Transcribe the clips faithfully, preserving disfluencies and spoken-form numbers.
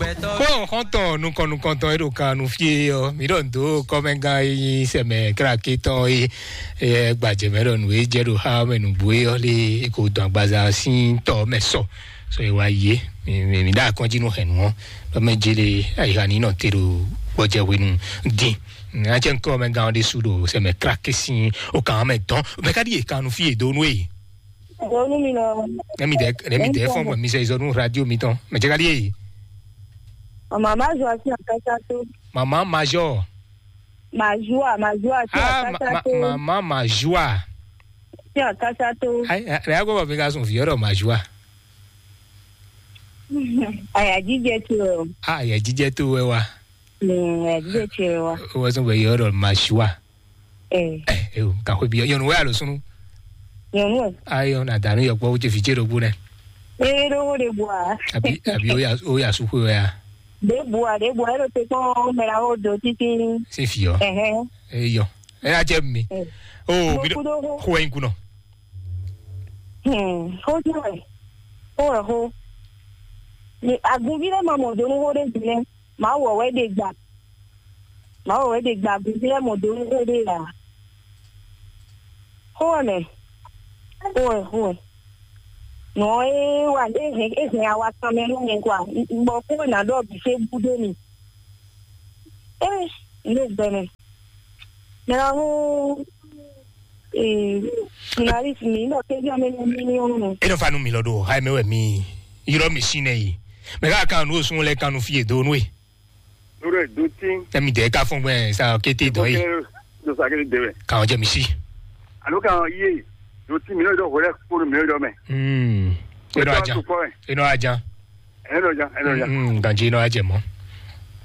Kó xɔ́ntɔn nukɔn nukɔntɔn e ɖo kan nu fie ɔ́, mǐ ɖɔ nǔ dó kɔ́mɛgán e nyí sɛmɛ kláké tɔn e e gbajɛ mɛ ɖɔ nǔ e jɛ ɖo xá mɛ nǔgbó e ɔ́ lé e ko dɔn agbaza sín tɔ mɛ sɔ. Sɔ e wa yé, mǐ mǐ ɖo akɔ́njí nú hɛ̌nnu ɔ́, ɖɔ mɛ jele ayixa ní nɔ te ɖo gbɔjɛ hwenu dín. Ná cɛ kɔ́mɛgán ɔ́ ɖésú ɖo sɛmɛ kláké sín o kan mɛ dɔn. Mɛ ka ɖi e kan nu fie dó nú e? Donu mi nɔ. Nɛ mi dɛ nɛ mi dɛ fɔn bɔ mi sɛ izɔ nu radio mi tɔn. Mɛ jɛ ka ɖi e? Mama Joa sin akasa to. Mama Major. Majua, Majua sin Ah, ma, akasa ma, to. Mama Majua. Sin akasa to. Ai, ai, ai, ko ba mi ka sun fi ɔrɔ Majua. Aya jijɛ to. Ah, ya jijɛ to wɛ wa. Mm, aya jijɛ to wɛ wa. O wɛ sun bɛ yɔrɔ Majua. Eh. Eh, eh, o, ka xwe bi nyɔnu wɛ alo sunu? Nyɔnu wɛ. Ayɔ na danu yɔ kpɔ wo ce fi ce ɖo gbo nɛ. Eh, ɖo wo ɖe bua. Abi abi o ya o ya su xwe wɛ ya. Ɖe bua, ɖe bua, e ɖo te kpɔn mɛ la wo do titi. Se fi yɔ. Ɛhɛn. Eh yɔ. E ya jɛ mi. Eh. O mi Mo kudo ho. Xwe in kunɔ. Hmm, ho ti wɛ. Ho wɛ ho. Ni agunvi lɛ ma mɔ donu ho ɖe gbi nɛ. Mawu wɛ wɛ ɖe gba. Mawu wɛ wɛ ɖe gba agunvi lɛ mɔ donu ho ɖe la. Ho wɛ mɛ. Ho wɛ, ho wɛ. Nɔ e wa e hɛn e hɛn awa kan mɛ nú mi kwa. Bɔ ko na ɖɔ bi se bu ɖe mi. Eh, ne gbɛmɛ. Mɛ la ho. Eh, journaliste mi nɔ ke jɔ mɛ mi mi mi. E nɔ fa nu mi lɔ ɖo ha mɛ wɛ mi yrɔ mi si nɛ yi. Mɛ ka kan nu osun lɛ kan nu fie do nu e. Lórí ẹ̀ dó tí. Tẹ́mi dẹ̀ ká fún gbẹ́ sa kété dán yìí. Ló sa kété dé wẹ̀. Kàn jẹ́ mi sí. Àló kàn yé dó tí mi náà dọ̀ wẹ́rẹ́ kpónú mi náà dọ̀ mẹ́. Hmm. Inú ajá. Inú ajá. Ẹ̀rọ ọjà, ẹ̀rọ ọjà. Hmm, gànjí inú ajá mọ́.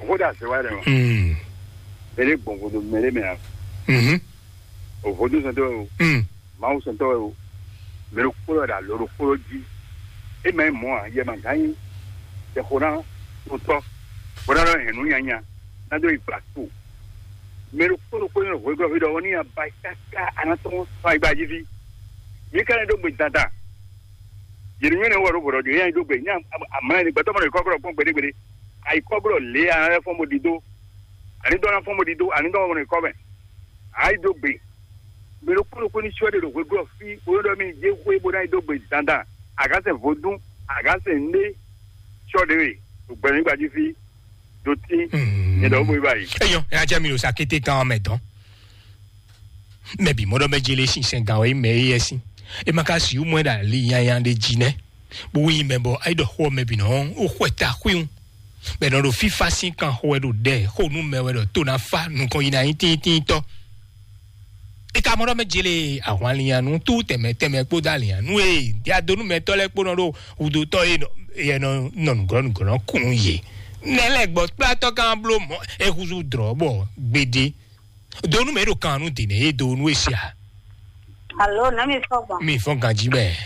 Òkúta àṣẹ wáyé rẹ̀ wọ́n. Hmm. Eré gbọ̀ngbọ̀n mẹ́rẹ́ mẹ́ra. Mhm. Òfòdú sọ̀tọ̀ o. Hmm. Màá sọ̀tọ̀ o. Mɛɖo kpó ɖɔ ɖo alo ɖo kpó jí. E mɛ mɔ a yɛ ma gán nyi. Tɛ xo ná to tɔ. Bó ná ɖɔ hɛn nú nyanya. Ná dó yi gbla to. Mɛɖo kpó ɖo kpó nyɔ hwegɔ́ fi ɖɔ wɔ ní aba káká anatɔn fa igba jí fi. Mi ka ne ɖó gbe dandan. Yɛrɛ nyɔ ne wɔ ɖo bɔ̀dɔ jɔ yɛn ɖó gbe nyɛ amla ni gbɛtɔ mɔ ɖo kɔkɔrɔ kpɔn gbeɖegbeɖe. Ayi kɔkɔrɔ lě a lɛ fɔn mo ɖi dó. Ani dɔ na fɔn mo ɖi dó. Ani dɔ mɔ ɖo kɔ mɛ. Ayi dó gbe. Mɛ ɖokpó ɖokpó ní sɔ́ ɖe ɖo hwegɔ́ fí, bó nɔ́ ɖɔ mì jɛ xwé bó ná yi dó gbe dandan. Àgásɛ vodún, àgásɛ ndé sɔ́ ɖe we, ɖo gbɛmí gbají fí, ɖo tí, nyɛ ɖɔ bó yi báyìí. Eyɔ, ẹ ajá mi ɖo sa kété kan mɛ dɔn. Mɛ bi mɔɖɔ mɛ jele sinsɛn gan wɛ mɛ yɛ sin. E ma ka si mɔ ɖa li yanya ɖe ji nɛ. Bó yi mɛ bɔ ayi ɖɔ xɔ mɛ bi nɔ o xɔ ta xwin. Bɛ nɔ ɖo fifa sin kan xɔ wɛ ɖo ɖɛ xo nu mɛ wɛ ɖɔ to na fa nukɔn yi na nyi tíntínntɔ. E ka mɔ ɖɔ mɛ jele ahwanlinyanu tú tɛmɛ tɛmɛ kpódó alinyanu e diadonu mɛtɔ lɛ kpó nɔ ɖo hudotɔ e nɔ e nɔ nɔ nugɔlɔ nugɔlɔ kun ye. Nɛ lɛ gbɔ kplatɔ kan bló mɔ e huzu drɔ bɔ gbede. Donu mɛ ɖo kan nu dene e donu e sia. Alo, nɛ mi fɔ gbɔn. Mi fɔ ganji mɛ.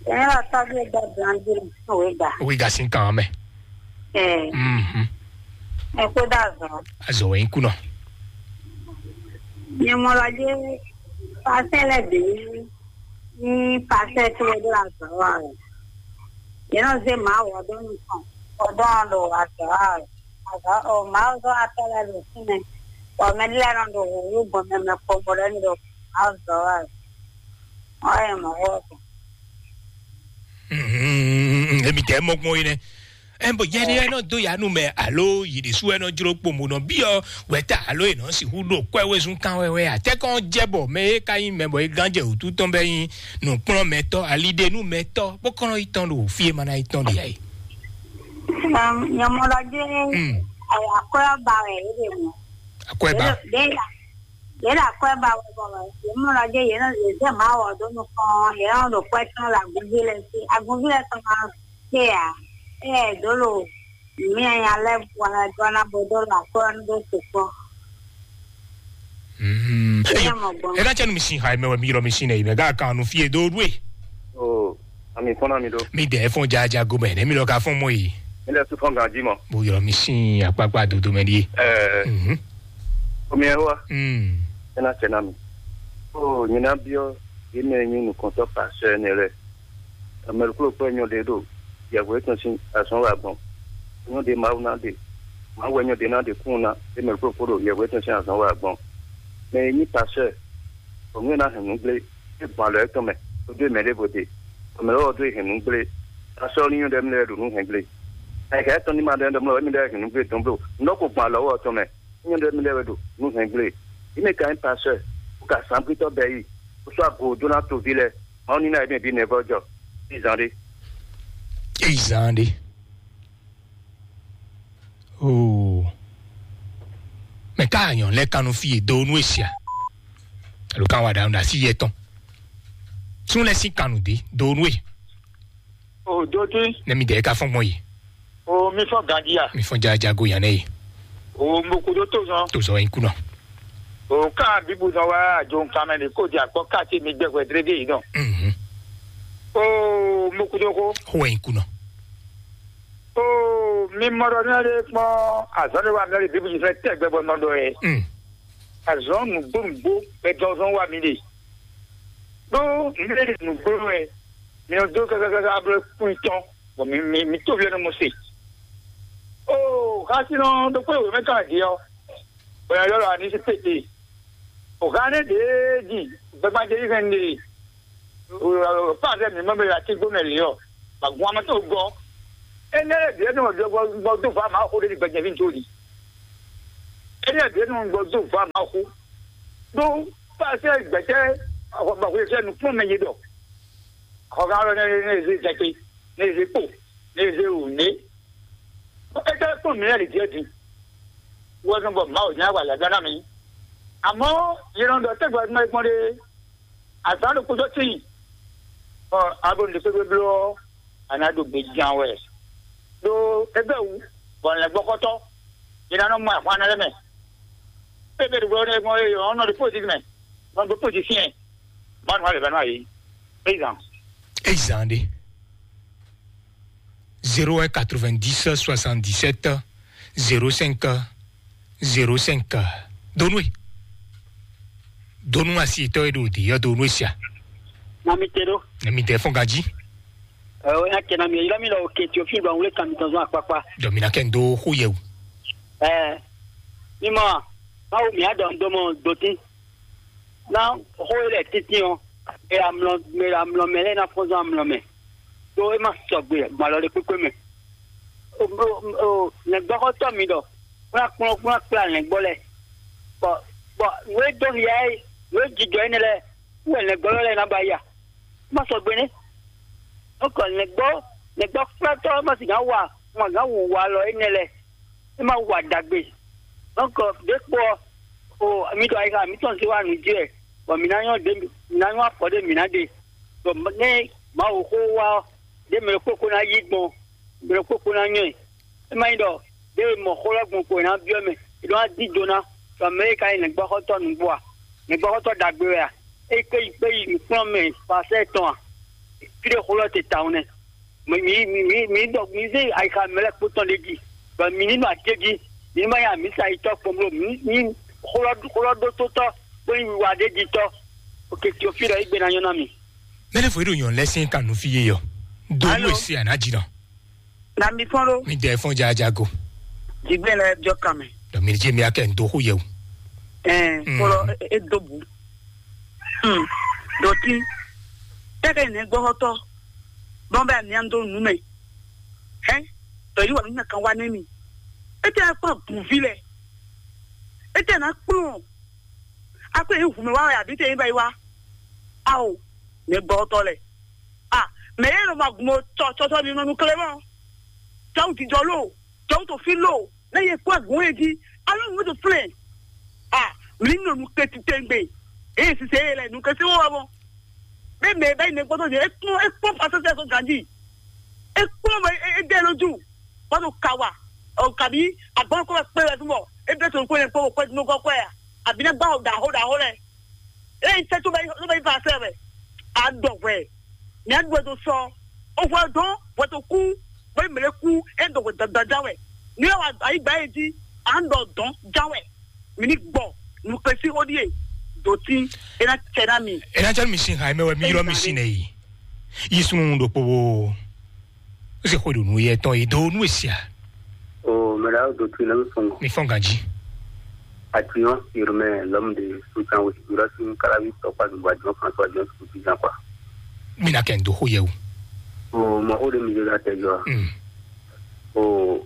Ɛn la tɔbi e dɔ blandi o e da. O e ga sin kan mɛ. Ɛɛ. Mhm. Ɛ ko da zɔ. Azɔ wɛ kunɔ. Nyɛmɔlɔdze pasɛ lɛ bi ni pasɛ to do azɔ wa. Yɛn nɔ ze ma wɔ do nukɔn. Ɔdɔn do azɔ wa. Azɔ o ma zɔ atɔ lɛ do sinɛ. Ɔ mɛ lɛ nɔ do wu gbɔn mɛ mɛ kpɔkpɔ lɛ do azɔ wa. Ɔ yɛ mɔ wɔ. Mhm. Emi tɛ mɔ gbɔn yi nɛ. Ɛn bɔ yɛɖe ɛ nɔ dó yanu mɛ alo yi ɖe su ɛ nɔ jló kpombo nɔ biɔ wɛta alo yi nɔ sixú ɖo kwɛ wezun kan wɛwɛ atɛkɔn jɛ bɔ mɛ e ka nyi mɛ bɔ e gán jɛ wútu tɔn bɛ nyi nukplɔnmɛtɔ aliɖenumɛtɔ bó kɔn nɔ yi tɔn ɖo fí e ma ná yi tɔn ɖe ɛ. Nyɔmɔlɔdé. Mm. Akɔyɔ ba wɛ e ɖe mɔ. Akɔyɔ ba. Ɖe la ɖe la akɔyɔ ba wɛ bɔ nyɔmɔlɔdé yɛn nɔ zɛ ma wɔ do nukɔn yɛn nɔ ɖo kwɛ tɔn la agunvi lɛ si agunvi lɛ tɔn ma. Tea, ɛ dolo mi anya lɛ wana dɔna bo dolo akɔ ni do sukpɔ. Mhm. Ɛ mɔ gbɔn. Ɛ ka cɛ nu mi sin ha mɛ wɛ mi yɔrɔ mi sin nɛ yi mɛ ga kan nu fie do due. O, ami fɔna mi do. Mi dɛ fɔn jaja go mɛ ne mi lɔ ka fɔn mɔ yi. Mi lɛ su fɔn ganji mɔ. Bo yɔrɔ mi sin akpakpa dodo mɛ di. Ɛ. Mhm. Omi ɛ wa. Mm. Ɛ na cɛ na mi. O, nyina biɔ, yi mɛ nyi nukɔntɔ pasɛ ne lɛ. Amɛlikúlòkpɔ́ nyɔ ɖě ɖo yɛhweɖétɔn sín azɔ̌ wa gbɔn. Nyɔ́ ɖe Mawu ná ɖe, Mawu wɛ nyɔ́ ɖe ná ɖe kún ná, é mɛ kpó kpó ɖo yɛhwɛ tɔn sín azɔn wa gbɔn. Mɛ e nyí pasɛ, bɔ nú é ná hɛn nǔ gblé, é gbɔn alɔ étɔn mɛ, kpódó mɛ ɖěvo ɖe, bɔ mɛ lɔ́wọ́ dó hɛn nǔ gblé. Pasɛ ɔ́ ní nyɔ́ ɖɔ émí lɛ́ɛ ɖo nǔ hɛn gblé. Ayǐká étɔn ní ma ɖɔ émí ɖɔ émí lɛ́ɛ hɛn nǔ gblé tɔn bló, nǔ ɖɔ ko gbɔn alɔ ɔ́ tɔn mɛ, é nyɔ́ ɖɔ émí lɛ́ɛ wɛ ɖo nǔ hɛn gblé. Émí ka nyí pasɛ, bó ka zǎngbítɔ́ bɛ́ yi, bó sɔ́ ago dó ná toví lɛ́ɛ, Mawu ní ná émí bǐ nɛ̌ vɔ́ jɔ. Izan ɖé. Izan ɖé. Oo. Mɛ ka nyɔ lɛ kanu fi e do nu esia. Alo kan wa ɖa ɖa si yɛ tɔn. Tún lɛ si kanu de do nu e. O do ti. Ne mi de ka fɔn gbɔn yi. O mi fɔ gandia. Mi fɔn ja ja go yan ne yi. O mo kudo to zɔn. To zɔn yi kunɔ. O ka bibu zɔn wa jo nkan mɛ de ko di akpɔ ka ti mi gbɛgbɛ drege yi dɔn. Mhm. O mo kudo ko. Ho yi kunɔ. Oo, mi mɔ ɖɔ nɔ ɖe kpɔn azɔn ɖé wa mi ɖe Biblu fɛ tɛgbɛ bɔ nɔ ɖɔ yɛ. Mm. Azɔn nǔgbó nǔgbó wɛ dɔzɔn wa mi ɖe. Ɖó mi ɖe nǔgbó wɛ mi nɔ dó kákákáká bló kún tɔn bɔ mi mi mi tó vlɛ nɔ mɔ se. Oo, xasinɔ ɖokpó wěmɛ kan jí ɔ, bɔ yɔ lɔ ani sí pété. O xá ne ɖě ji gbɛgbadze yi hɛn ɖe. Pazɛ mi mɔ be la ti gbɔmɛ li ɔ, ba gun amɛ tó gɔ. Ene ɖe ɖe nɔ gbɔ gbɔ do va ma xo ɖe gbɛjɛ vi to li. Ene ɖe nɔ gbɔ do va ma xo. Do pazɛ gbɛtɛ ba xo sɛ nu kpɔn mɛ ye dɔ. Xɔ ga lɔ ne ne ze zɛte, ne ze kpo, ne ze wu ne. Ete kpɔn mi lɛ ɖe diɛ di. Wɔ nɔ bɔ ma o nya wa la dana mi. Amɔ ye nɔ dɔ tɛgbɛ ma gbɔn ɖe. Azǎn ɖokpó sɔ́ tíin, bɔ a ɖo nǔɖé kpékpé bló ɔ́, a nǎ ɖo gbe jan wɛ. Ɖó é bɛ́ wǔ, bɔ lɛ̌ngbɔ́xɔ́tɔ́, è nǎ nɔ mɔ ahwan lɛ́ɛ mɛ. Kpékpé ɖokpó ɔ́ nɔ ɖo pósí mɛ, nɔ ɖo pósí syɛ́n, Mawu nɔ wá lɛ̌ vɛ́ nú ayǐ. Peyizan. Peyizan ɖé. Zéro un quatre-vingt-dix soixante-dix-sept zéro cinq zéro cinq. Donwe. Donu asi etɔ́ e ɖo ɖi yɔ donu esia. Na mi te ɖo. Na mi te fɔn gaji. Ɛɛ, o ya kɛ na mi yɔ mi lɔ o ke tio fi ba wule kan mi tɔn zɔn akpakpa. Dɔ mi na kɛ n do xo yɛ o. Ɛɛ, mi mɔ, Mawu mi adɔ n do mɔ doti. Na xo e lɛ titi ɔ, e amlɔ, e amlɔ mɛ lɛ na fɔn zɔn amlɔ mɛ. Ɖó é ma sɔgbe gbɔn alɔ ɖé kpékpé mɛ. O, o, o, lɛ̌ngbɔ́xɔtɔ́ mi ɖɔ kplá kplɔ́n kplá kplá lɛ̌ngbɔ́ lɛ́ɛ. Bɔ, bɔ nǔ e dó hiya é, nǔ e jijɔ énɛ́ lɛ́ɛ, wú wɛ lɛ̌ngbɔ́ lɛ́ɛ ná ba ya. É ma sɔgbe nɛ́. Nukɔ lɛ̌ngbɔ́, lɛ̌ngbɔ́ kplátɔ́ ma sixá wa, ma gǎn wu wa alɔ énɛ́ lɛ́ɛ. É ma wa ɖagbe. Donc, ɖěkpo ɔ́, o, mi ɖo ayixa mǐtɔn zé wá nǔ jí wɛ, bɔ mǐ ná nyɔ́ ɖě, mǐ ná nyɔ́ afɔ ɖé mǐ ná ɖe. Bɔ nɛ́ Mawu xó wá ɔ́, ɖě mɛ ɖokpó kó ná yí gbɔn, mɛ ɖokpó kó ná nyɔ́ ɛ. É má nyí ɖɔ ɖěe mɔ xó lɛ́ɛ gbɔn ko è nǎ byɔ́ mɛ, è nɔ wá dín do ná, bɔ mɛ e ka nyí lɛ̌ngbɔ́xɔ́tɔ́ nǔgbó a? Lɛ̌ngbɔ́xɔ́tɔ́ ɖagbe wɛ a? É kpé yi kpé yi nǔkplɔ́nmɛ pasɛ́ tɔn a? Fí ɖé xó lɛ́ɛ te tawun nɛ́. Mi mi mi mi mi ɖɔ mi zé ayixa mɛ lɛ́ɛ kpo tɔn ɖé jí, bɔ mi ní nɔ atéjí, mi ní ma nyí amǐsa yitɔ́ kpɔn bló mi ní xlɔ́ xlɔ́ ɖótótɔ́ kpó nyí wiwa ɖé jí tɔ́. Oke Teofílu ɔ́, égbé ná nyɔ́ ná mi. Mɛɖé fo ɖo nyɔ̌nu lɛ́ɛ sín kan nú fí yé yɔ. Do Alo. Nú èsì ànájì nɔ. Na mi fɔ́n ɖó. Mi dɛ fɔ́n jajago. Jigbe lɛ jɔ kan mɛ. Dɔ mi jɛ mi akɛ ndo xo yɛ o. Ɛɛ, Mm. Kpɔlɔ e- e do bu. Hmm. Dɔti. Tɛkɛ ne gbɔhɔtɔ. Bɔn bɛ amiando nu mɛ. Hɛn. Tɔ yi wa mi na kan wa ne mi. Ete akpa gunvi lɛ. Ete na kplɔn. Akpa yi hu mɛ wa wɛ abi te yi ba yi wa. Awo. Ne gbɔhɔtɔ lɛ. Ah, mɛ yɛ nɔ ma gun o tsɔ tsɔ tsɔ ni nɔ nu kle mɔ. Tsɔw jijɔ lo, tsɔw to fi lo, ne ye kpɔ gun ye ji, alo nu to flɛ. Ah, mi nɔ nu ke ti tɛngbe. Eye sise ye lɛ nu ke se wo wa mɔ. Be mɛ bɛ ne gbɔdɔ ye ekpɔ ekpɔ pasese so ganji. Ekpɔ mɛ e de lo ju. Bado kawa. O kabi agbɔn ko kpe wɛ tumɔ. E de to ko ne kpɔ ko kpe no ko kpe ya. Abi ne gba o da ho da ho lɛ. Eyi sɛ tó bɛ tó bɛ yi fa sɛ wɛ. A dɔ wɛ. Ni a dɔ do sɔ. O fɔ dɔn wɛ to ku. Bɛ mele ku e dɔ wɛ dandan ja wɛ. Ni wa ayi gba yi di. A dɔ dɔn ja wɛ. Mi ni gbɔ. Nu kpesi o die. Doti. E na cɛ na mi. E na cɛ mi sin ha mɛ wɛ mi yɔrɔ mi sin ne yi. Yi sun ɖokpo wo. O se xwe ɖo nu yɛ tɔn yi do nu esia. Ayo do tu ne fɔn. Mi fɔn ganji. Atiyan, irmɛ lɔm de sutan wo sibira sin kalavi tɔkpa dugba jɔn fan tɔ jɔn su ti jan kwa. Mi na kɛ ndo ho yɛ o. O mɔ o de mi de la tɛ jɔ. Mm. O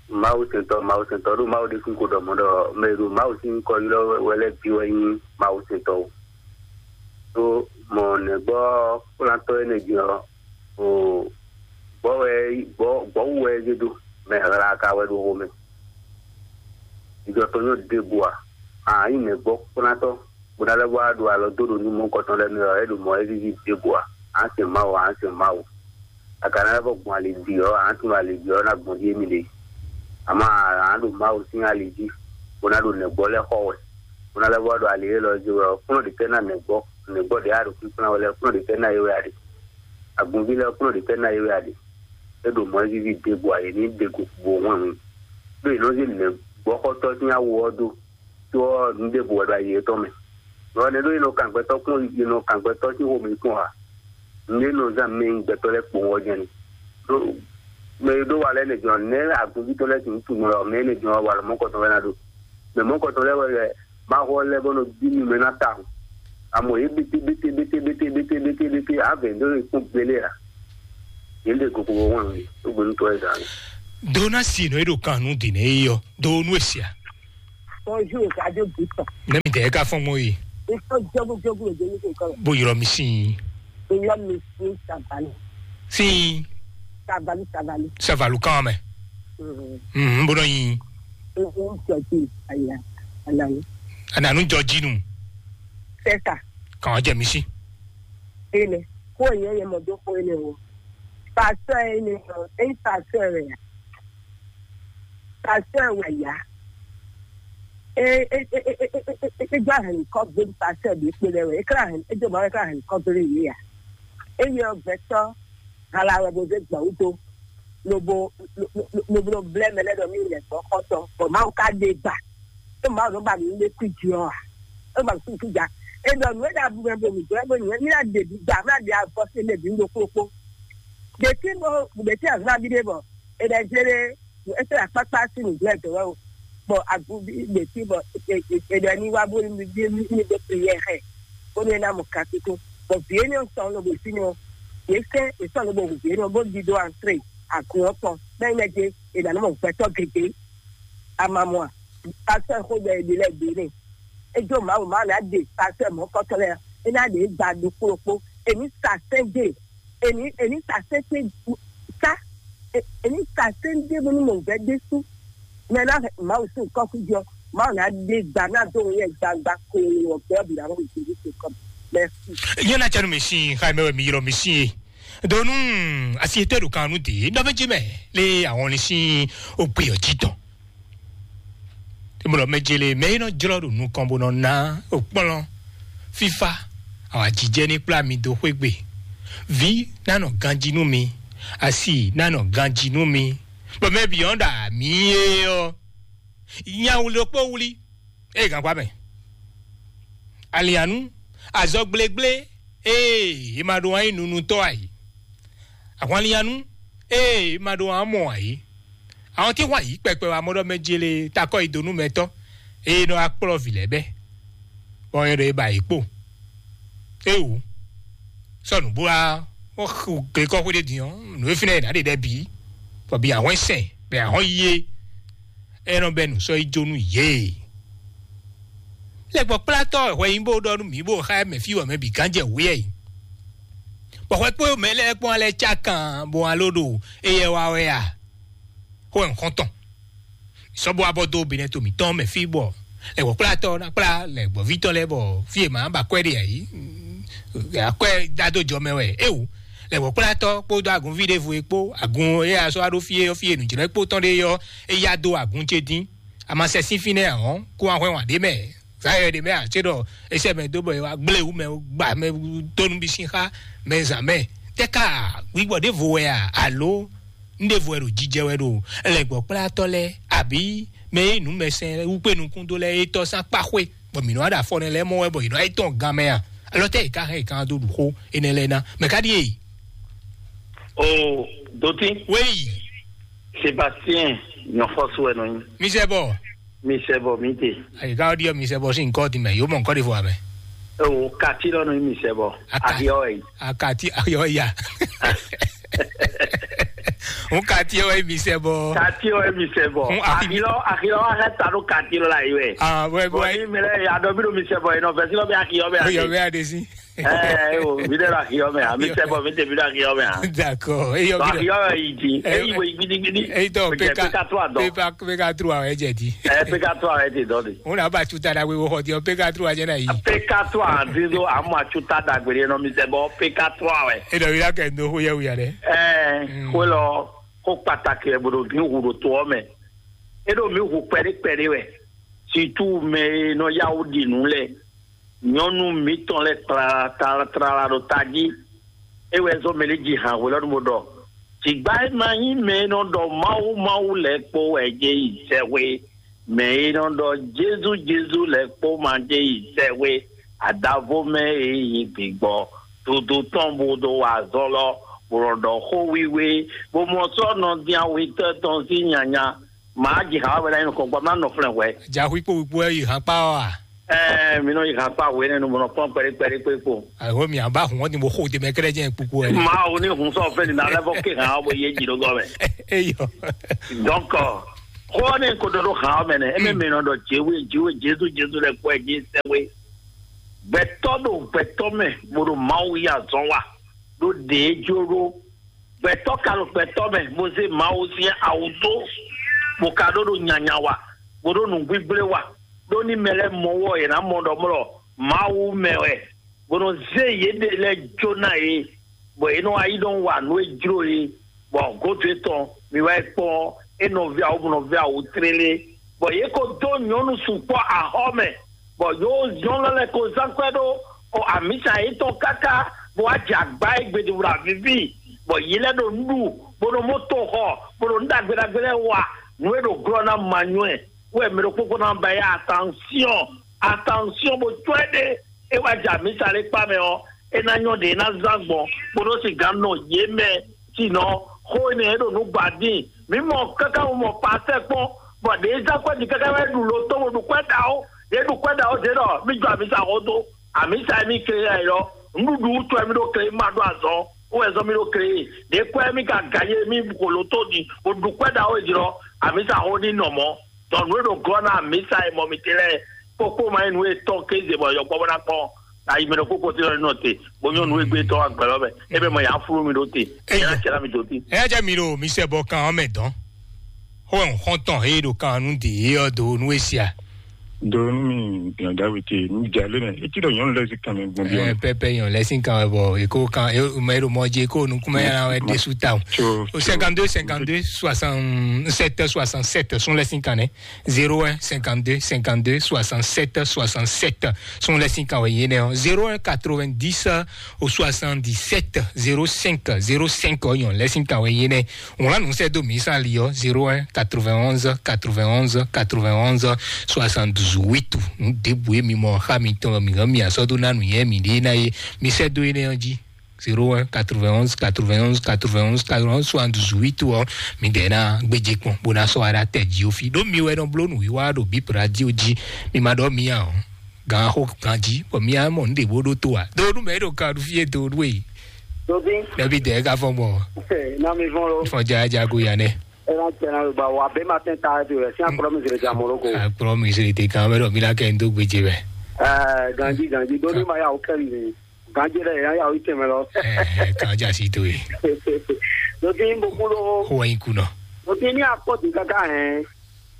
Mawu sɛntɔ, Mawu sɛntɔ ɖo Mawu de kun ko dɔ mɔ dɔ mɛ ɖo Mawu sin kɔ ylɔ wɛ lɛ bi wɛ nyi Mawu sɛntɔ o. Ɖó mɔ nɛgbɔ kplantɔ énɛ́ din ɔ́, o gbɔ wɛ gbɔ gbɔwu wɛ é zé dó, mɛ hla ka wɛ ɖo xomɛ. Jijɔ tɔn nyɔ ɖěbǔ ǎ. A nyí nɛgbɔ kplantɔ bó ná lɛ́ wá ɖo alɔ dó ɖo nú mɔ̌hunkɔtɔn lɛ́ɛ mɛ ɔ́, é ɖo mɔ̌ é víví ɖěbǔ ǎ. A sɛn Mawu, a sɛn Mawu. A ka ná lɛ́ vɔ gbɔn ali bǐ ɔ́, a nǎ tunwun ali bǐ ɔ́ ná gbɔn ɖíe mi ɖe. Amɔ̌ a nǎ ɖo Mawu sín ali jí, bó ná ɖo nɛgbɔ lɛ́ɛ xɔ wɛ, bó ná lɛ́ vɔ ɖo ali élɔ́ jí wɛ ɔ́, kplɔ́n ɖě tɛ́ ná nɛgbɔ, nɛgbɔ ɖě a ɖo kpínkplɔ́n wɛ lɛ́ɛ, kplɔ́n ɖě tɛ́ ná é wɛ a ɖe? Agunví lɛ́ɛ kplɔ́n ɖě tɛ́ ná é wɛ a ɖe? É ɖo mɔ̌ víví ɖěbǔ ǎ, yě ní ɖe go bo hwɛ́n hun. Ɖó è nɔ zé nɛgbɔxɔtɔ́ sín awo ɔ́ dó, tó ɔ́, nǔ ɖěbǔ wɛ ɖo ayi yětɔn mɛ. Lɔ nɛ́ ɖó è nɔ kan gbɛtɔ́ kpɔ́n, è nɔ kan gbɛtɔ́ sín xomɛ kpɔ́n ǎ. Nǔ e nɔ zán mɛ nyi gbɛtɔ́ lɛ́ɛ kpowun ɔ́ jɛ́n ni. Ɖó mɛ e ɖó wa lɛ́ɛ nɛ jɔn nɛ́ agunví tɔn lɛ́ɛ sixú tunwun wɛ ɔ́, mɛ énɛ́ jɔn wɛ wa lɔ mɔ̌kɔtɔn wɛ ná ɖo. Mɛ mɔ̌kɔtɔn lɛ́ɛ wɛ wɛ Mawu ɔ́ lɛ́ bɔ nɔ bí nú mɛ ná tawun. Amɔ yě bete bete bete bete bete bete bete avɛ ɖó è kpɔ́n gbélé ǎ. Yě ɖe koko wɔ wɛn wɛ, ó gbé nú tɔ́ ɛ zǎn. Donasi nɔ e ɖo kan nú dǐn e yɔ do nú esia. Bonjour, Radio Bouton. Nɛ mi dɛ ka fɔn mo yi. Ito jogu jogu le jeni ko kɔlɔ. Bo yɔrɔ mi sin. Iyɔ mi sin Savali. Sin. Savali, Savali. Savalu kan mɛ. Mhm. Mhm, bo nɔ yin. Mhm, jɔji aya, anani. Ananu jɔji nu. C'est ça. Kan jɛ mi si. Ele, ko yɛ yɛ mɔ do ko ele o. Pastor ele o, e pastor ele ya. Pastor wɛ ya. E e e e e e e e gba hɛn kɔ gbé pastor bi kpe lɛ wɛ. E kla hɛn, e do ma e kla hɛn kɔ gbé yɛ ya. E yɛ gbɛtɔ hala wɛ bo ze gbɔ wudo. Lobo lobo blɛ mɛ lɛ dɔ mi lɛ gbɔ kɔtɔ. Bɔ Mawu ka de gba. E Mawu nɔ ba mi le kui di ɔ a? E ba mi kui ja. E dɔ nu e da bu mɛ bo mi gbɛ bo nyɛ mi na de bi gba, mi na de avɔ se mɛ bi ndo kpokpo. Ɖeti bo ɖeti azɔn abi ɖe bɔ e ɖe zé ɖe ese akpakpa si nu gblɛ dɔ wɛ o. Bɔ agu bi ɖeti bɔ e ɖe ni wa bo ni bi ni ni de prière xɛ. Bo ni na mo kakiko. Bɔ vi eni sɔn lo bo si ni o. Ye sɛ e sɔn lo bo hu vi eni bo di do antre agun ɔ kpɔn. Bɛ ne de e na nɔ mɔ gbɛtɔ gege. Amamɔ a? Pastor xo ɖe e ɖi lɛ de ne. E jo Mawu ma na de pastor mɔ kɔtɔ lɛ. E na de gba do kpokpo. E ni sa sɛn de. Èmi èmi sàsẹ́sẹ́ sá èmi sàsẹ́ ń dé bónú mò ń vẹ́ dé sú mɛ náà máa wù sí nǹkan kú jọ máa nà dé gbà náà tó ń yẹ gbangba kó o wọ̀ bẹ́ẹ̀ bìrà wọn kò ní ṣe kọ́ mẹ́sì. Yẹn náà jẹ́nu mi sí, xayi mẹ́wẹ́ mi yọrọ mi sí e. Donu asi etɔ ɖo kan nu de nɔ méjì mɛ lé àwọn ní sí ògbé ọjí tán. Ìmọ̀ràn méjì lé mɛ yìí nɔ jlɔ ɖo nukɔn bó nɔ ná òkplɔ́n fífá. Àwọn àjíjẹ́ ní kplá mi dó xwé gbe. Vǐ nánɔ ganjí nú mi, asi nánɔ ganjí nú mi. Bɔ mɛ bǐ ɔ́ ɖa mǐ é ɔ́, nya wlí ɖokpó wlí. Ée gǎnkpá mɛ. Alǐanú, azɔgblégblé, ee è ma ɖo wǎn yí nunutɔ́ ǎ é. Ahwanlíanú, ee è ma ɖo wǎn mɔ ǎ é. Àwọn tí wǎn yí kpɛkpɛ wá mɔ ɖɔ mɛ jele takɔ yi dó nú mɛtɔ́, ee nɔ wá kplɔ́ vǐ lɛ́ɛ bɛ́, bɔ é ɖo é ba yě kpo. Éwu, sɔ́ nǔ bó wá, wọ́n xu glekɔ́xwé ɖé din ɔ́, nǔ e fínɛ́ è nǎ ɖe ɖɛ bǐ, bɔ bǐ ahɔ́n sɛn, bɛ ahɔ́n yí é. É nɔ bɛ́ nǔ sɔ́ yi jó nú yě. Lɛ́gbɔ́kplátɔ́ hwɛ nyí bó ɖɔ nú mǐ bó xá mɛ fí wɛ mɛ bǐ gán jɛ wǔ yɛ yi. Bɔ hwɛ kpó mɛ lɛ́ɛ kpɔ́n alɛ cá kan bó wá ló ɖo éyɛ́ wá wɛ a? Xó wɛ nǔxɔ́ntɔn. Sɔ́ bó wá bɔ dó Benɛto mǐtɔn mɛ fí bɔ lɛ́gbɔ́kplátɔ́ ná kplá lɛ̌gbɔ́ví tɔn lɛ́ɛ bɔ fí e mǎ ba kwɛ́ ɖe ǎ yí. Akwɛ́ dá dó jɔ mɛ wɛ éwu. Lɛ̌gbɔ́kplátɔ́ kpódó agunví ɖěvo e kpó agun e a sɔ́ wá ɖó fí e ɔ́ fí e nǔjlɛ́kpó tɔn ɖe ɔ́, é yá dó agun ce dín. A ma sɛ sín fínɛ́ ǎ ɔ́, kó wá hwɛ́n wǎn ɖé mɛ. Zǎyɔ ɖě mɛ ǎ, cé ɖɔ é sɛ mɛ dó bɔ è wá gblé wú mɛ, gba mɛ dó nú bí sín xá mɛ zǎn mɛ. Tɛ́ ká wǐgbɔ ɖěvo wɛ a? Alo un ɖěvo wɛ ɖo jijɛ wɛ ɖo lɛ̌gbɔ́kplátɔ́ lɛ́ɛ, abǐ mɛ e nǔmɛsɛn wú kpé nukún dó lɛ́ɛ é tɔ́ sín akpá xwé, bɔ mǐ nɔ wá ɖo afɔ nɛ lɛ́ɛ mɔ wɛ bɔ yě nɔ wá yi tɔn gan mɛ a? Alɔ tɛ́ yě ká hɛn yě ká dó ɖu xó énɛ́ lɛ́ɛ ná? Mɛ ká ɖíe? O Dotí, Wéyi. Sébastien, Nyɔxɔsú wɛ nɔ nyi. Misɛbɔ. Misɛbɔ mi te. Ayi ka ɔdi ɔ misɛbɔ si nkɔ di mɛ yo mɔ nkɔ de fɔ amɛ. Ewo kati lɔ nɔ nyi misɛbɔ. Aka- Ahiɔ yi. Akati ayɔ ya. N kati ɔ yi misɛbɔ. Kati ɔ yi misɛbɔ. N ahi- Ahilɔ ahilɔ wa hɛ ta ɖo kati lɔ la yi wɛ. Ah, wɛ Bɔn wɛ. Ni mɛ lɛ ya dɔ bi ɖo misɛbɔ yi nɔ fɛ si lɔ bɛ ahiɔ bɛ Oyɔ ati. Bɛ adesi. Ɛɛ o mi ɖe la hiɔ mɛ a mi tɛ bɔ mi tɛ bi la hiɔ mɛ a. D'accord. Eyɔ Ba bi hiɔ mɛ yi di. Eyi wo yi gidigidi. Eyi tɔ Pe- peka peka to a dɔn. Peka peka tro awɛ jɛ di. Ɛɛ peka to awɛ ti dɔn de. Ŋun na ba tu ta dagbe wo xɔ di ɔ peka tro a jɛ na yi. Peka to a di do a mɔ a tu ta dagbe de nɔ mi tɛ bɔ peka to awɛ. E dɔ wi la kɛ ndo xo yɛ wi a dɛ. Ɛɛ xo lɔ xo pataki ɛ bo do mi hu do to ɔ mɛ. E do mi hu kpɛɖe kpɛɖe wɛ. Situ mɛ e nɔ yá wú ɖi nǔ lɛ́ɛ. Nyɔ̌nu mǐtɔn lɛ́ɛ tlala tlala ɖo tají. É wɛ zɔ́n mɛ lɛ́ɛ ji han hwelɔ́nu bó ɖɔ: Jǐgbá e ma nyí mɛ e nɔ ɖɔ Mawu Mawu lɛ́ɛ kpó wɛ jɛ yi sɛxwe. Mɛ e nɔ ɖɔ Jezu Jezu lɛ́ɛ kpó ma jɛ yi sɛxwe. Adavo mɛ e nyí gbigbɔ dudu tɔn bó ɖo wa azɔn lɔ, bó nɔ ɖɔ xó wiwe, bó mɔ sɔ́ nɔ dín awetɔ́ tɔn sín nyanya. Màá ji hǎ wɛ ná nyí nukɔn gbɔ má nɔ flɛn hwɛ. Jaxwí kpó wíkpó wɛ yi hǎn kpá ɔ́ a? Ɛɛ, mi nɔ yi hǎn kpá hwe nɛnu bɔ nɔ kpɔn kpɛɖé kpɛɖé kpé kpo. Ayiwo mi aba hun ɔdi mo xo de mɛ kɛlɛ jɛ kpukpu wɛ. Màá wo ní hun sɔ́ fẹ́ nínú alẹ́ fɔ ké hǎn ɔ́ bɔ yé jì ɖó gɔmɛ. Eyɔ. Donc, xó ɔ́ ní kò dó ɖó hǎn ɔ́ mɛ nɛ, émɛ mi nɔ ɖɔ jéwe jéwe Jezu Jezu lɛ kpɔ ɛ jí sɛwé. Gbɛtɔ́ ɖo gbɛtɔ́ mɛ bó ɖo Mawu yí azɔn wa ɖó ɖě jló ɖó. Gbɛtɔ́ ka ɖo gbɛtɔ́ mɛ bó zé Mawu sín awu dó, bó ka ɖó ɖo nyanya wa, bó ɖó nǔgbígblé wa, ɖó ní mɛ lɛ́ɛ mɔ wɔ yě ná mɔ ɖɔ mlɔ Mawu mɛ wɛ, bó nɔ zé yěɖée lɛ́ɛ jó ná yě, bɔ yě nɔ wá yi nɔ wa nǔ e jló yě, bɔ gǒdo etɔn mi wá yi kpɔ́n é nɔví awu bó nɔví awu tlélé, bɔ yě ko dó nyɔ̌nu sukpɔ́ axɔ́ mɛ, bɔ yǒ nyɔ̌nu lɛ́ɛ ko zán kwɛ́ ɖó xɔ amǐsa yětɔn káká, bó wá jɛ agbá e gbeɖuɖu avíví, bɔ yě lɛ́ɛ ɖo nǔ ɖu, bó ɖo mɔ́ to xɔ, bó ɖo nǔ ɖagbe ɖagbe lɛ́ɛ wa, nǔ e ɖo glɔ́ ná ma nywɛ́, wɛ mɛ ɖokpó kpó ná ba yá attention, attention bó cwɛ́ ɖé, é wá jɛ amǐsa lɛ́ɛ kpá mɛ ɔ́, é ná nyɔ́ ɖě é ná zán gbɔn, bó nɔ́ sixú nɔ yě mɛ, sinɔ xó énɛ́ e ɖo nǔ gba dín. Mǐ mɔ káká wú mɔ pasɛ kpɔ́n, bɔ ɖě zán kwɛ́ din káká wɛ ɖu lo tó bó ɖu kwɛ́ ɖaxó, ɖě ɖu kwɛ́ ɖaxó ɖě ɖɔ mí jɔ amǐsa xó dó, amǐsa e mí kle yá é lɔ, nǔɖuɖu wútu wɛ mí ɖo kle ma ɖó azɔn, wó wɛ zɔ́n mí ɖo kle é, ɖě kwɛ́ mí ka gǎn yé mí xo lo tó din, bó ɖu kwɛ́ ɖaxó é din lɔ, amǐsa xó ní nɔ mɔ̌. Dɔn nǔ e ɖo glɔ́ ná amǐsa e mɔ mitɛn lɛ́ɛ kpókpó ma nyí nǔ e tɔn kéze bɔ yɔkpɔ́ bó ná kpɔ́n ayi mɛ ɖokpó kpótí lɔ nɔ te, bó nyɔ́ nǔ e gbé tɔn agbɛ̌ lɔ mɛ, é bɛ mɔ yǎ flú mi ɖó te, é yá cɛ ná mi dó tí. Ɛ jẹ́ mi ɖo mi sɛ bɔ kan ɔ́ mɛ dɔn. Xó wɛ xɔ́ntɔn he ɖo kan nú dě é ɔ́ dó nú é sia. Do nú mi yɔn Dawiti, mi jɛ ale mɛ. Eti ɖɔ nyɔnu lɛ si kan mi gbɔn bi Ɛ ɔn. Pɛpɛ yɔn lɛ sin kan wɛ bɔ eko kan e mɛ e ɖo mɔ dzi eko nukunmɛ yàrá wɛ ɖe su ta o. Tso, O tso. Cinquante-deux, cinquante-deux, soixante-sept, soixante-sept, sun lɛ sin kan nɛ. Zéro un, cinquante-deux, cinquante-deux, soixante-sept, soixante-sept. Sun lɛ sin kan wɛ yé nɛ ɔ. Zéro un, quatre-vingt-dix, au soixante-dix-sept, zéro cinq, zéro cinq ɔ yɔn lɛ sin kan wɛ yé nɛ. Wlán nǔ sɛ́ dó mǐ sán ali ɔ́, zéro un, quatre-vingt-onze, quatre-vingt-onze, quatre-vingt-onze, soixante-douze, huit. Nǔ ɖěbǔ e mi mɔ xá mitɔn mǐ hɛn mi asɔ́ dó ná nǔnywɛ́ mǐɖée ná é, mi sɛ́ dó énɛ́ ɔ́ jí. Zéro un, quatre-vingt-onze, quatre-vingt-onze, quatre-vingt-onze, quatre-vingt-onze, soixante-douze, huit ɔ́, mi dɛ ná gbéjé kpɔn bó ná sɔ́ wa ɖó atɛ jí ó fí. Ɖó mi wɛ nɔ bló nǔwiwa ɖo bíp radio jí, mi ma ɖɔ mì ǎ ɔ́. Gan xo ganjí, bɔ mía mɔ nǔ ɖě bó ɖó tó a? Do nú mɛ ɖo kan ɖu fí e do nú e. Dobi, Nɛbi dɛ ka fɔn gbɔ. Na mi vɔn lo. Fɔn ja ja go ya nɛ. Ena tɛna ba wa be ma tɛn ta do rɛ sin akplɔ mi zere ja moro ko. Akplɔ mi zere te kan bɛ dɔ mi la kɛ n do gbeje bɛ. Eh, ganji ganji do ni ma ya o kɛ mi. Ganji rɛ ya ya o tɛmɛ lɔ. Eh, kan ja si to ye. Dobi n bo kulo. Ho wa in kunɔ. Dobi ni akpɔ di kaka hɛn.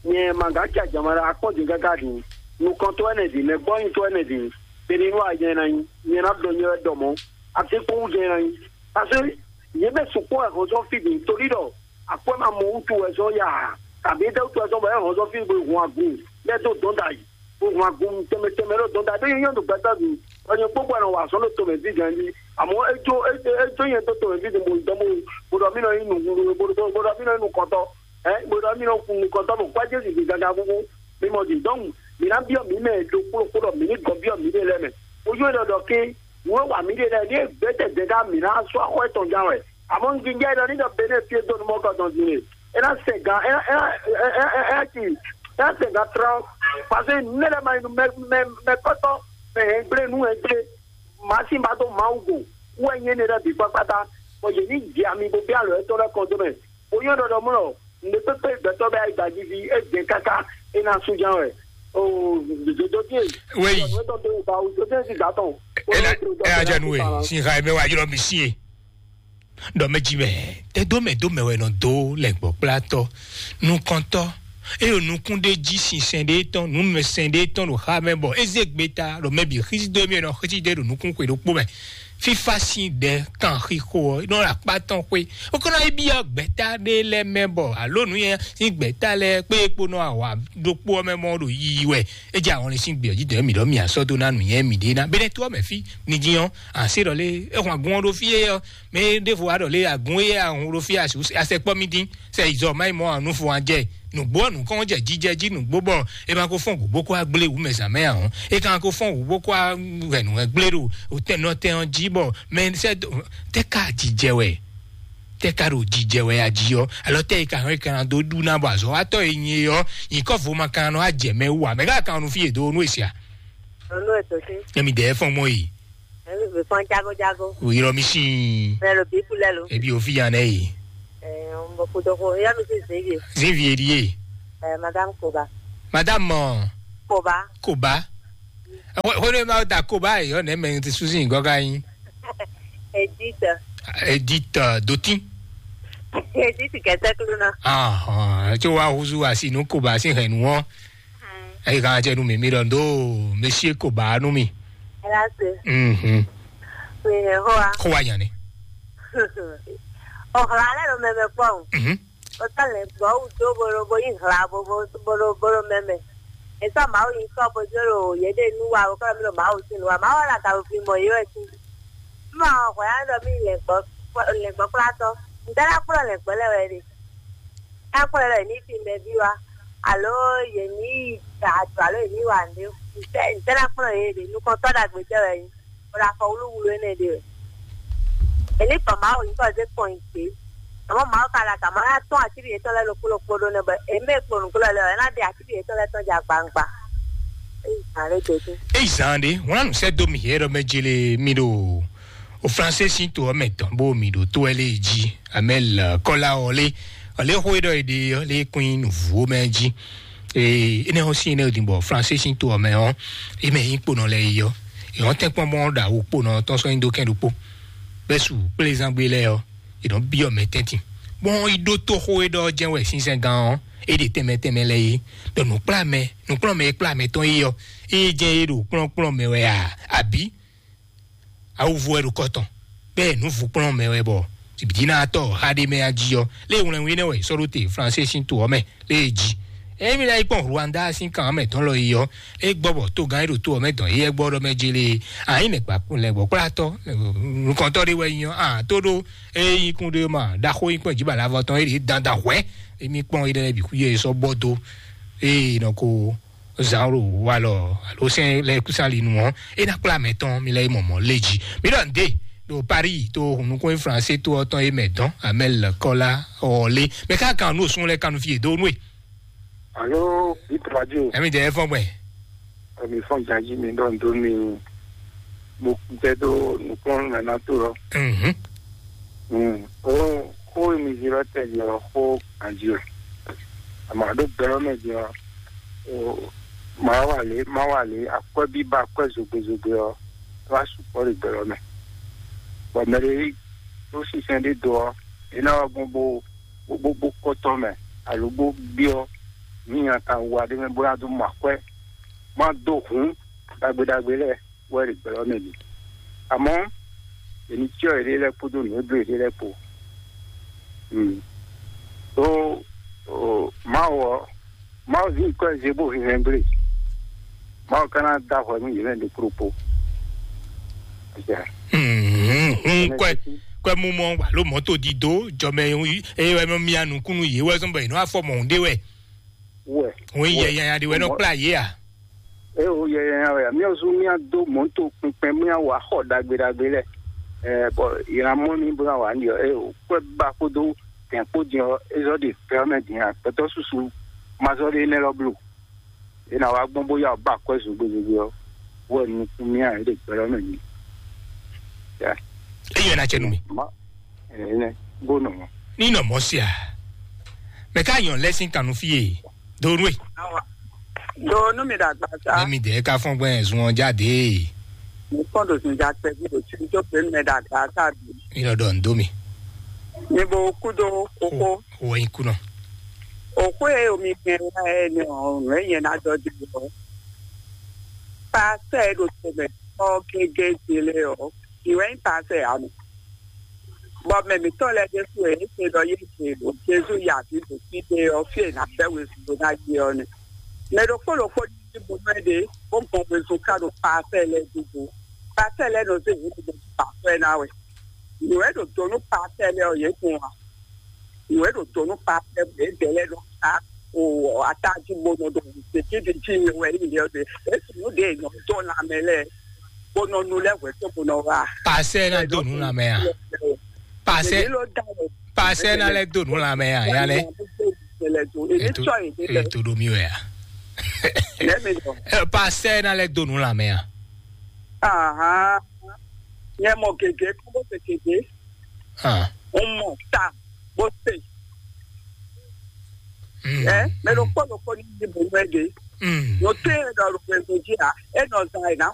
Nyɛ Mangakya Jamara akpɔ́ din káká din. Nukɔntɔ́ ɛnɛ din, mɛgbɔ́nyitɔ́ ɛnɛ din. Beninu a nyɛ na nyi, nyɛ na ɖɔ nyɛ wɛ ɖɔ mɔ̌. Atekpɔ́wú nyɛ na nyi. Parce que yě mɛ sukpɔ́ wɛ hɔn sɔ́ fí din torí ɖɔ akwɛ́ ma mɔ wútu wɛ sɔ́ ya ǎ. Tàbí étɛ́ wútu wɛ sɔ́ bɔ é hɔn sɔ́ fí bo hun agun lɛ́ dó dɔ̌n ɖ'ayǐ. Bo hun agun tɛnmɛ tɛnmɛ ɖó dɔ̌n ɖ'ayǐ. Ɖó nyɛ nyɔ́ ɖo gbɛtɔ́ din. Bɔ nyɛ kpó gbɔ nɔ wa azɔ̌ ɖo tomɛ vívɛ́ jí. Àmọ́ é jó é é jó nyɛ dó tomɛ vívɛ́ din bo dɔn bo bo ɖɔ mí nɔ nyí nǔ bo ɖɔ mí nɔ nyí nukɔntɔ́. Ɛ, bó ɖɔ mí nɔ kun nukɔntɔ́ bɔ kpá Jezu ɖi gaga búbú, mí mɔ ɖi. Donc, mí ná byɔ́ mǐ mɛ ɖokpó ɖokpó ɖɔ mǐ ní gɔn byɔ́ mǐɖée lɛ́ɛ mɛ. Ojú é ɖɔ ɖɔ ké, nǔ e wa mǐɖée lɛ́ɛ, ní é gbɛ́tɛ́ dɛ̌ ká mǐ ná sú axɔ́ étɔn gán wɛ. Àmọ́ un jínjɔ́n é ɖɔ ní ɖɔ Benín fí e dó nú mɔ̌ kɔ dɔn din e, é ná sɛ gan é ná é ná é ná é ná é ná ci é ná sɛ gan trɔ́n. Parce que ne lɛ́ ma nyi nú mɛ mɛ mɛ kɔ́tɔ́ mɛ hɛngblé nú hɛngblé màá sí ba dó Mawu go wɛ nyɛ ne lɛ́ bǐ kpákpátá. Bɔ yě ní jɛ ami bó bɛ́ alɔ yětɔn lɛ́ɛ kɔn dó mɛ bó nyɔ́ ɖɔɖɔ mlɔ nǔɖé kpékpé gbɛtɔ́ bɛ ayi gbajivi é jɛ káká é ná sú ján wɛ. Oo, dodo dín e. Wéyi. Ìyàwó tó dé ìgbà wo tó dé sí ìgbà tán. Ena ena jẹ nu e sin ha mɛ wa ylɔ mi si e. Ɖɔ mɛ ji mɛ tɛ dó mɛ dó mɛ wɛ nɔ dó lɛ gbɔ kplatɔ nukɔntɔ eye nukún ɖé jí sinsɛn ɖé tɔn numɛsɛn ɖé tɔn ɖo xa mɛ bɔ eze gbe ta ɖo mɛ bǐ xísí dó mɛ nɔ xísí ɖé ɖo nukún xwe ɖokpó mɛ. Fífá sín ɖɛ kan xixo ɔ́ nɔ ɖo akpá tɔn xwé. Wokɔnɔ yi byɔ́ gbɛ̌ta ɖé lɛ́ɛ mɛ bɔ alo nǔnywɛ́ sín gbɛ̌ta lɛ́ɛ kpé e kpo nɔ awǎ ɖokpó ɔ́ mɛ mɔ ɖo yiyi wɛ. É jɛ ahɔnlin sín gbě ɔ́ jí dɔ̌n mǐ ɖɔ mǐ asɔ́ dó ná nǔnywɛ́ mǐɖée ná. Bɛ́nɛ́ tó ɔ́ mɛ fí ní dín ɔ́, an sé ɖɔ lé é hun agun ɔ́ ɖó fí é ɔ́, mɛ e ɖěvo wá ɖɔ lé agun é a hun ɖó fí a sɛ kpɔ́ mì dín, sɛ yi zɔ má yi mɔ anu fo an jɛ. Nǔgbó ɔ́ nǔkɔn jɛ jijɛ jí nǔgbó bɔ é ma ko fɔ́n gǔgbó kó wá gblé wǔ mɛ zǎn mɛ ǎ ɔ́. É ka ko fɔ́n gǔgbó kó wá hɛ̌nnu hɛn gblé ɖo tɛnɔtɛn ɔ́ jí bɔ mɛ sɛ tɛ ka jijɛ wɛ tɛ ka ɖo jijɛ wɛ a jí ɔ́ alɔ tɛ yi ka hɛn ka na dó ɖu ná bɔ azɔ̌watɔ́ e nyi é ɔ́ nyǐkɔ vo ma ka nɔ ajɛ mɛ wú ǎ mɛ ka kan nu fí e dó nú e sia. Nunu ètò sí. Emi dɛ fɔn mɔ yi. Ẹ̀mí mi fọ́n jágójágó. Wò yrɔ mi sín. Mẹ lo bí kulẹ lo. Ebi òfin yan nẹ yi. Ẹ ń bọ kúndókó yá mi sí zéyé. Zévi èdìyé. Ẹ madame Koba. Madame mɔ. Koba. Koba. Wọ́n ní ma ta Koba yìí ọ̀nà ẹ̀mẹ́ ti sùn sí nǹkan ká yín. Edith. Edith Dotin. Edith kẹtẹkulu náà. Ahàn tí wàá huzu wá sí inú Koba sí hẹ̀nù wọn. Ẹ̀yin kan jẹ́ nu mi mi ɖɔ ndo Monsieur Koba nu mi. Ela se. Mhm. Mi ne hoa. Ko wa nyane. O hla le lo meme kpɔn. Mhm. O ta le gbɔ u do bolo bo yi hla bo bo bolo bolo meme. E sɔ ma o yi sɔ bo jo lo ye de nu wa o kɔ mi lo ma o sin wa ma o la ka o fi mo yo e sin. Ma o hwa ya do mi le gbɔ le gbɔ kla to. Ndala kplo le gbɔ le we de. Akpɔ́n lɔ yě ní fin bɛví wá, alo yě ní yi da ado, alo yě ní wa nǔɖé. Ntɛ́ ntɛ́ ná kplɔ́n yě ɖe? Nukɔntɔ́ ɖagbe jɛ wɛ é nyí, bó ná fɔ wlúwlú énɛ́ ɖe wɛ. È ní gbɔn Mawu nyǐkɔ zé kpɔn nyi gbě. Àmọ́ Mawu ka ɖo agǎn má ná tɔ́n atíɖi yětɔn lɛ́ɛ ɖokpó ɖokpó ɖó nɛ́ bɔ è mɛ kpo nǔglɔ́ lɛ́ɛ ɔ́, é ná ɖe atíɖi yětɔn lɛ́ɛ tɔn jɛ agbaŋgba. É yi zǎn ɖé dó. É yi zǎn ɖé, wlán nǔ sɛ́ dó mì yě ɖɔ mɛ jele mi ɖo o Fransé sín to ɔ́ mɛ tɔn bó mi ɖo tó ɛ lé jí. Amɛl kɔla ɔ lé ɔ lé xó e ɖɔ è ɖe ɔ lé kún nyi nǔvú mɛ jí. Ee énɛ́ ɔ́ sín énɛ́ din bɔ Fransé sín to ɔ́ mɛ ɔ́, é mɛ nyí kponɔ lɛ́ɛ yi ɔ́, è nɔ tɛ́nkpɔ́n bɔ ɖo awu kponɔ tɔn sɔ́ nyi dó kɛn ɖokpó. Bɛ́ su kplézangbe lɛ́ɛ ɔ́, è nɔ byɔ́ mɛ tɛ́ntin. Bɔn yi ɖó tó xó e ɖɔ ɔ́ jɛ́n wɛ sínsɛ́ngán ɔ́, é ɖe tɛnmɛ tɛnmɛ lɛ́ɛ yí. Ɖɔ nǔkplá mɛ nǔkplɔ́nmɛ e kplá mɛ tɔn yí ɔ́, é jɛ́n é ɖo kplɔ́nkplɔ́n mɛ wɛ a, abǐ? Awuvo wɛ ɖo kɔ tɔn, bɛ́ nǔvukplɔ́n mɛ wɛ bɔ bǐbínátɔ́ xa ɖé mɛ a jí ɔ́, lé wlɛnwí nɛ́ wɛ è sɔ́ ɖó te Fransé sín to ɔ́ mɛ lé e jí. Ényí mi ná yi kpɔ́n Rwanda sín kan mɛ tɔn lɔ yi ɔ́, é gbɔ bɔ togán e ɖo to ɔ́ mɛ dɔn éyɛ́ gbɔ ɖɔ mɛ jélé a nyí lɛ̌ngbɔ́kplátɔ́ nukɔntɔ́ ɖé wɛ nyí ɔ́, a tó ɖó é nyí kún ɖé ma ɖaxó nyí kpɔ́n jǐbalavɔ tɔn é ɖě dandan hwɛ̌. Émí kpɔ́n éɖɛ́ lɛ́ɛ bǐ xwíyɛ é sɔ́ bɔ dó ée nɔ ko zǎn ɖo walɔ alo sɛn lɛ́ɛ kúsán li nu ɔ́, é ná kplá mɛ tɔn mi lɛ́ yi mɔmɔ̌ lé jí. Mi ɖɔ nǔɖé ɖo Paris to hunnukún e Fransé to ɔ́ tɔn e mɛ dɔn Amɛl Kɔla ɔ lé. Mɛ ká kan nú òsún lɛ́ɛ kanu fi yě dó nú e. Alo, Bit Radio. Ɛmi dɛ fɔn gbɛ. Ɛmi fɔn jaji mi ɖɔ nǔɖó mi mo tɛ ɖó nukplɔ́n nana to lɔ. Mhm. Mm. O xó e mi zi lɔ tɛ jí ɔ xó ganjí wɛ. Àmọ́ àɖó gbɛlɔ́ mɛ jí ɔ, o ma wà lé ma wà lé akwɛ́ bíbá akwɛ́ zogbe zogbe ɔ wá sukpɔ́ ɖe gbɛlɔ́ mɛ. Bɔ mɛ ɖé ɖó sísɛn ɖé do ɔ, é ná wá gbɔn bó bó bó bó kɔ́tɔ́ mɛ alo bó byɔ́ ní nya kan wa ɖé mɛ bó ná dó mɔ akwɛ́ má dó hǔn ɖagbe ɖagbe lɛ́ɛ wɛ ɖe gbɛlɔ́ mɛ ɖi. Àmọ́ èmi cyɔ yěɖée lɛ́ɛ kpódó nǔ e bló yěɖée lɛ́ɛ kpó. Mm. Ó, ó, Mawu ɔ́, Mawu zín kɔ́ ɛ zé bó hɛn hɛn gblé. Mawu ka ná dó ahwɛ nú yě lɛ́ɛ ɖokpó ɖokpó. Hun kwɛ kwɛ mumɔ alo mɔto dido jɔmɛ eye wɛ nɔ mia nukunu yě wɛ zɔn bɔ yě nɔ afɔ mɔ ɖé wɛ. Wɛ. Hun yɛ yanya ɖé wɛ nɔ kplá yě a. Eye wo yɛ yanya wɛ a. Míawo zú míado mɔto kpɛnkpɛn míawa xɔ ɖagbe ɖagbe lɛ. Ɛ bɔ yě ná mɔ mí bó ná wà ní yɔ. Eye kwɛ ba kpódó Tɛ̌nkpó din ɔ́, é zɔ́ ɖe gbɛ ɔ́ mɛ din ǎ. Gbɛtɔ́ susu ma zɔ́ ɖe énɛ́ lɔ bló. É ná wá gbɔn bó yá wǔ ba akwɛ́ zogbezogbe ɔ́, wɛ nukún mì ǎ, é ɖe gbɛ ɔ́ mɛ din. Ya, Eyi na cɛ nu mi. ma, ɛnɛ, bó nɔ mɔ. Ni nɔ mɔ sia. Mɛ ka yɔn lɛ sin kanu fie. Do nu e. Do nu mi dàgbà sá. Mɛ mi dɛ ka fɔn gbɛ zun ɔn jáde. Mo kàn tó sùn já pẹ́ bí o tí tó pé mẹ́ dàgbà sá bí. Mi lɔ dɔ n do mi. Ní bó kúdó kókó. O yin kunɔ. Òkú e omi gbẹ wá ẹ ní ọ̀run ẹ yẹn ná dọ́ di lọ. Pàṣẹ ẹ ló tó mẹ kọ́ gégé délé ọ. Ìwé ń pàṣẹ àmì. Bọ́ mẹ̀mítọ́ lẹ Jésù ẹ̀ ń ṣe lọ yé ṣe lò Jésù yà bí bò sí dé ọ fí ẹ̀ ná bẹ́ wezun ló ná yé ọ ni. Mẹ ɖokpó ɖokpó ní bó mɛ ɖe bó gbɔn wezun ká ɖo pàṣẹ lẹ dúdú. Pàṣẹ lẹ nɔ sí ìwé gbogbo pàṣẹ ná wẹ̀. Ìwé ɖo donu pàṣẹ lẹ ọ yé kun wa. Ìwé ɖo donu pàṣẹ bò é dɛ lẹ nɔ ká o atájú bó nɔ ɖo ṣèkíbi jí mi wẹ̀ yìí lẹ ọdẹ. Èsì nù dé èèyàn dọ́ lamẹ lẹ bó nọ nu lẹ wẹ̀ tó bó nọ wá. Pasɛ na do nu lamɛ a? Pasɛ Èmi ló dá lọ. Pasɛ na lɛ do nu lamɛ a? Yanɛ. Èmi sọ èdè lẹ. Eto do mi wɛ a? Lẹ́mi lọ. Ɛ, Pasɛ na lɛ do nu lamɛ a? Ahan. Nyɛ mɔ gègé kó bó ṣe gègé. Ah. Ń mọ̀ tá bó ṣe. Mm. Ẹ mẹ ló kpọ́ ló kpọ́ ní ìdìbò mẹ́ẹ̀dẹ́. Mm. Mo tẹ́ ẹ lọ rògbò ẹ̀gbọ́n jí à ẹ nọ zan ẹ̀ náà